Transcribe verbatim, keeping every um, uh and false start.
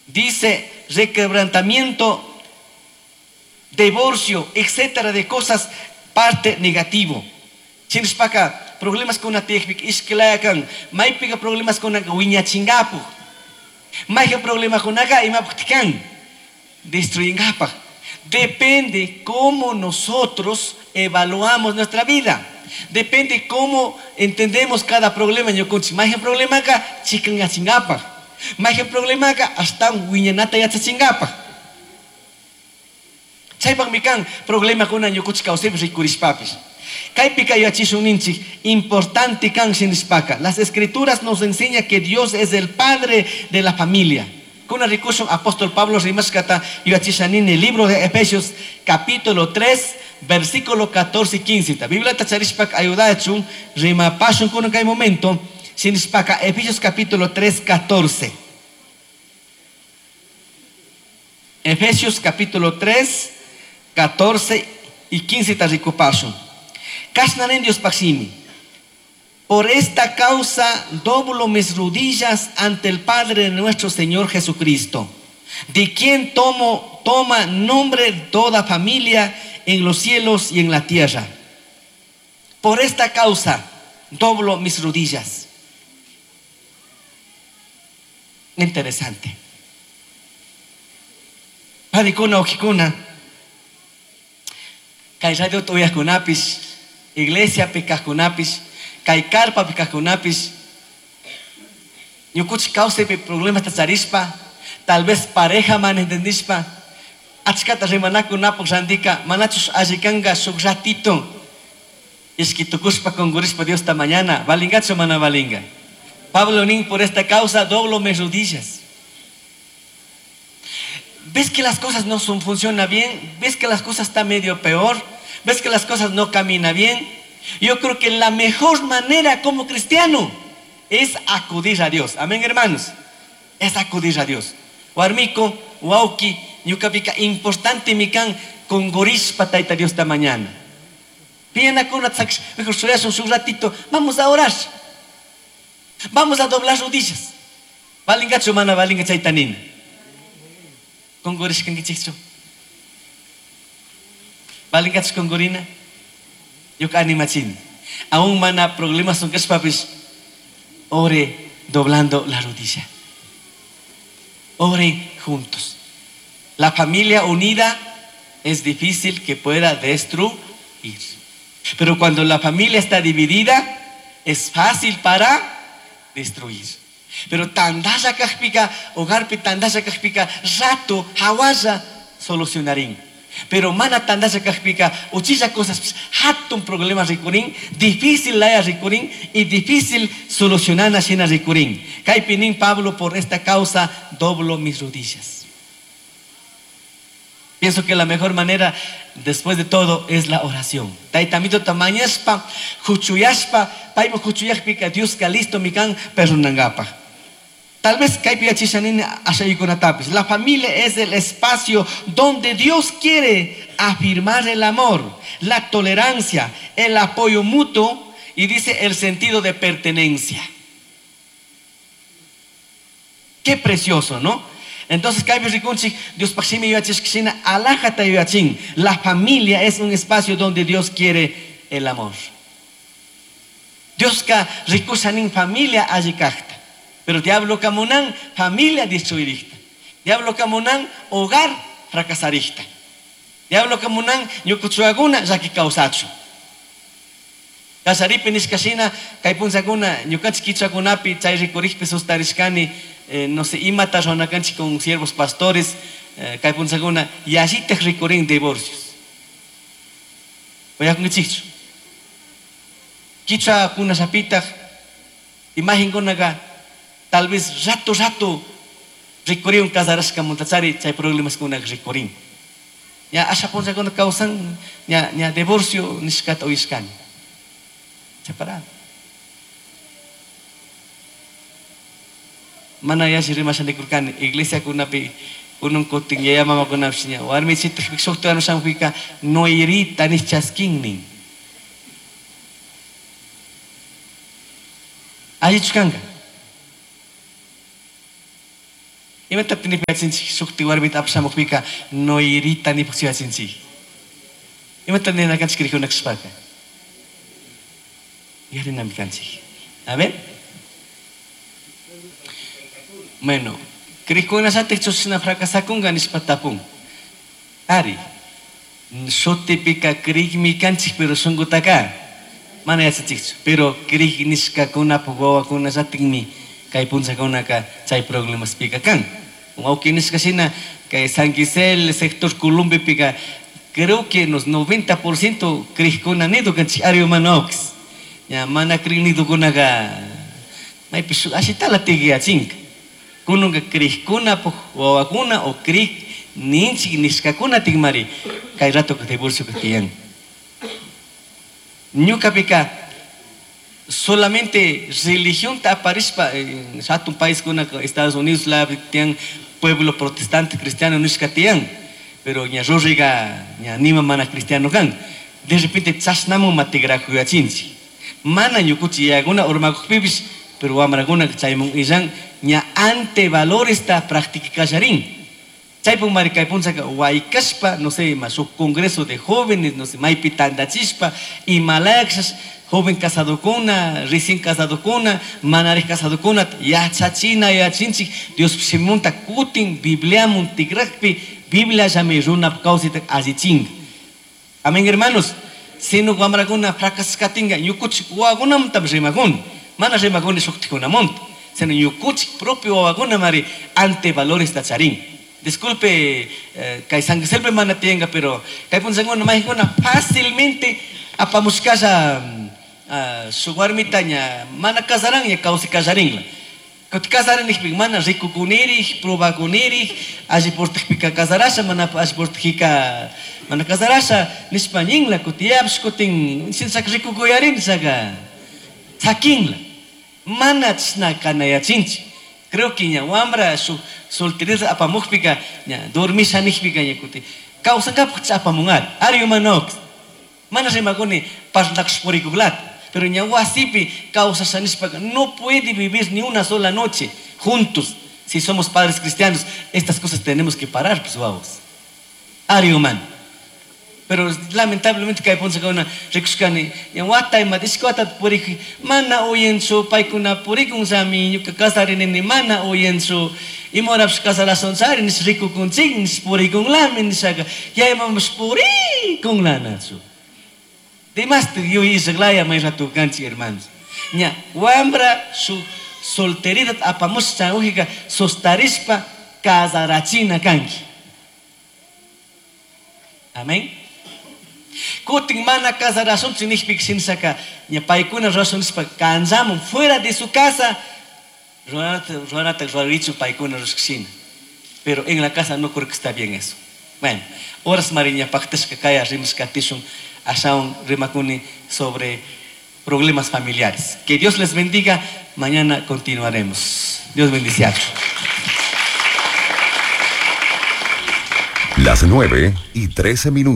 Dice requebrantamiento, divorcio, etcétera, de cosas, parte negativo. Shinashpaka problemas con tiyakpika ishkilayakan, maypika problemas con wiñachinkapak. Mayqa problemakunaka imapaq kan destruyinkapak. Depende cómo nosotros evaluamos nuestra vida. Depende cómo entendemos cada problema. Ñukanchik mayqa problemaka chikanyachinkapak. Mayqa problemaka ashtawan wiñanata yachachinkapak. Chaypaqmi kan problemakuna ñukanchik kawsaypi rikurishpapis. Kaypika yachishun ninchik importante kan shinishpaka. Las escrituras nos enseña que Dios es el padre de la familia. Kuna rikushun apóstol Pablo rimashkata yachishanini el libro de Efesios capítulo tres versículo catorce y quince. Ta Biblia tacharishpaka ayudachun rimapashun kuna kay momento shinishpaka Efesios capítulo tres catorce. Efesios capítulo tres catorce y quince ta rikupashun. Kashnanin Dios paximi. Por esta causa doblo mis rodillas ante el Padre de nuestro Señor Jesucristo, de quien tomo, toma nombre toda familia en los cielos y en la tierra. Por esta causa doblo mis rodillas. Interesante. Padikuna, ojikuna, kay radio toyakunapis, iglesia pekakunapis, kay carpa pekakunapis, ñukuchik kawsaypi problemas tacharispa, tal vez pareja mana entendispa, achkata rimanakunapaq randika, manachus allikanqa shuk ratito, ishkitukuspa kunkurispa Diosta mañana, valingachu mana valinga. Pablo nin, por esta causa doblo mis rodillas. ¿Ves que las cosas no son, funcionan bien? ¿Ves que las cosas están medio peor? ¿Ves que las cosas no caminan bien? Yo creo que la mejor manera como cristiano es acudir a Dios. Amén, hermanos. Es acudir a Dios. Warmiko, wauki, ñukapika importante mikan kongorishpa tayta Dios esta mañana. Pienakuna tzaksh, mejor suyas un ratito, vamos a orar. Vamos a doblar rodillas. Valingachu mana valinga chaytanina. Kongorishkankichikchu. Valingachu kongorina. Ñuka animachini. Aún mana problemas son kashpapis, ore doblando la rodilla. Oren juntos. La familia unida es difícil que pueda destruir. Pero cuando la familia está dividida, es fácil para destruir. Pero tandalla kajpika, hogarpi tandalla kajpika, rato, hawalla, solucionarín. Pero mana tandalla kajpika, uchilla cosas, hatun problema rikurín, difícil laya rikurín y difícil solucionar shina rikurín. Kaypinin Pablo, por esta causa doblo mis rodillas. Pienso que la mejor manera, después de todo, es la oración. Taytamito tamañaspa, juchuyaspa, paymo juchuyajpika, Dios ka listo mikan perdonangapa. Tal vez kaypi yachishanini ashaykunatapis. La familia es el espacio donde Dios quiere afirmar el amor, la tolerancia, el apoyo mutuo y dice el sentido de pertenencia. Qué precioso, ¿no? Entonces, kaypi rikunchik, Dios paqshimi yachishkishina, alajata yachin. La familia es un espacio donde Dios quiere el amor. Dios ka rikushanin familia allikajta. Pero diablo kamunan familia destruirista. Diablo kamunan hogar fracasarista. Diablo kamunan ñukuchuaguna llaki kawsachu. Kasaripi nishkashina kay punchakuna ñukanchik kichwakunapi chay rikurikpi sustarishkani, eh, no sé, imata runakanchik con siervos pastores, eh, kay punchakuna yallitaj rikurin divorcios. Uyakunkichikchu. Kichwakunallapitaj imagenkunaqa tal vez rato rato rikurin casarashka muntachari chay problemas kuna rikurin. Ya asha punchakuna kawsan ña, ña divorcio nishkata uyashkani. Separado. Mana yalli rimashanikurkani iglesia kunapi unun kutin yaya mama kunapish ña warmichita shukta warmishampika noirita nish chaskinnin. Allichu kanka. Imata nipachinchik shukti warmita apashamukpika noirita nipakchiyachinchik. Imata nina kanchik krikuna kashpaka. Yarinami kanchik. A ver. Bueno, krikuna shatik chushina fracasakunga nishpa tapun. Ari. Shutipika krikmi kanchik pero shunqutaka mana yachachikchu. Pero krik nishkakunapuk wawakuna shatikmi kay punchakunaka chay problemaspika kan. Wawqi nishka shina kay San Gisel sector Columbipika creo que unos noventa por ciento krikuna nidu kanchik ari humanox. Ya mana krik nidukunaka maypi shuk ashitala tigyachinka. Kununka krikkunapuk wawakuna o krik ninchik nishkakuna tikmari kay rato divorcio tiyan. Ñukapika solamente religión ta aparishpa en hatun país kuna Estados Unidos la tiyan pueblo protestante cristiano nishka tiyan, pero ña rurriga ña nima mana cristiano kan. De repente chashnamun matigrajuyachinchik. Mana ñukuchi yaguna urmakukpipish, pero wamrakuna chaymun illan ña ante valores ta practicallarin. Chaypun mari kay punchaka waykashpa, no sé, ma shuk congreso de jóvenes, no sé, maypi tandachishpa, imalayakshas joven casadokuna, recién casadokuna, manarij casadokuna, yachachina, yachinchik, Dios simunta kutin, Bibliamun tigrajpi, Biblia llami runap kawsayta allichinka. Amén, hermanos. Sino wamrakuna fracaskatinga, ñukuchik wawakunamantapish rimakuni. Mana rimakuni shuktikunamanta, sino ñukuchik propio wawakuna mari ante valores ta charin. Disculpe, eh, kay San Giselpe mana tienga, pero kay punchakuna maykuna fácilmente apamushkasha, uh, shuk warmita ña mana kasaran ña kawsay kallarinla. Kuti kasarin nijpika mana rikukunirij, probakunirij, alli portajpika kasarasha, mana alli portajika mana kasarasha, nishpa ñinla, kuti yapish kutin, shinshaka rikukuyarin, nishaka sakinla. Mana chashna kanayachinchik. Creo que ña wambra shuk solterita apamukpika, ña dormisha nijpika ña kuti kawsankapak apamunari. Ari humanox. Mana rimakuni parlakush purikuklata. Pero ña wasipi kawsasha nishpaka no puede vivir ni una sola noche juntos. Si somos padres cristianos, estas cosas tenemos que parar, pues vamos. Ari humano. Pero lamentablemente kay punchakuna rikushkani, ña wata ima ishki wata purikui, mana uyanchu, paykuna purikun sami, ñuka kasarinini mana uyanchu, imahorapish kasarasunchari, nish rikukunchik, nish purikunlami, nishaka, yayamapish purikunlanachu. Demás yuyay ishaklaya may rato kanchik, hermanos. Ña wambra su solteridad apamush chanujika sostarishpa kasarachina kanki. Amén. Kutin mana kasarasunchik nishpika shinshaka, ña paykuna rurasun nishpa kanchamun fuera de su casa, ruranata, ruranata rurarichu paykuna rurashkashina. Pero en la casa no creo que está bien eso. Bueno, horas mariña paktashka kaya rimashkatishun, ashaun rimakuni sobre problemas familiares. Que Dios les bendiga. Mañana continuaremos. Dios bendice. Las nueve y trece minutos.